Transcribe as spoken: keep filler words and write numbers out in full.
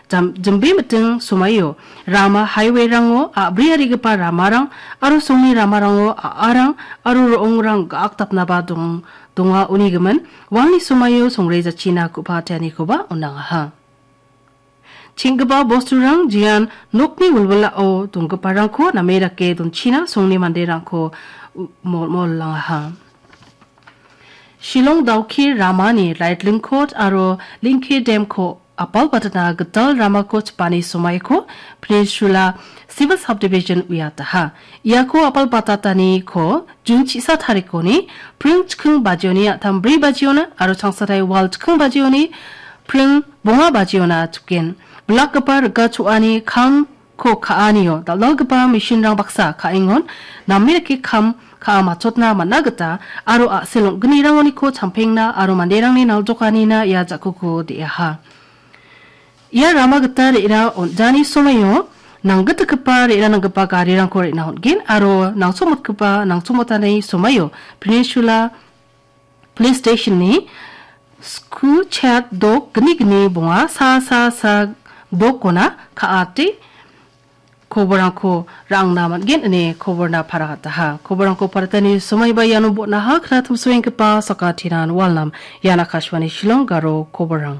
jam-, jimbe miting somaio rama highway-rango a·briarigipa ramarang aro songni ramarango a·arang aro ro·ongrang ga·akdapnaba dong-, donga uni gimin walni somaio songrejachina ku·pateanikoba on·angaha. Cheng·gipa bosturang jean nokni wilwilao donggiparangko name dake donchina songni manderangko u-, mol-, molmolangaha. Shillong Dawki ramani Raitling Court aro Lingke Dam-ko apalbatna gital ramako chipani somaiko Peninsula Civil Subdivision uiataha. Iako apalbatataniko Jun chisa tarikoni pring chiking bajioni a·tam bri bajiona aro changsatai wal chiking bajioni pring bonga bajiona chipen. Bilakgipa rika cho·ani kamko ka·anio dal·dalgipa machine-rang baksa ka·engon name dake kam ka·a matchotna man·a gita aro a·sel ong·gnirangoniko champengna aro manderangni naljokanina ia ja·kuko de·aha. Ia rama gita re·na on·jani somaio nanggitgipa re·na nanggipa garirangko re·na on·gen aro nangchomotgipa nangchomotani somaio Peninsula Police Station-ni sku chat dok gni gni bonga sa sa sa dokona ka·ate koborangko ra·angna man·gen ine koborna paragataha. Koborangko paratani somaiba iano botnaha knatimsoenggipa sakatinan walnam. Ian Akashvani Shillong garo koborang.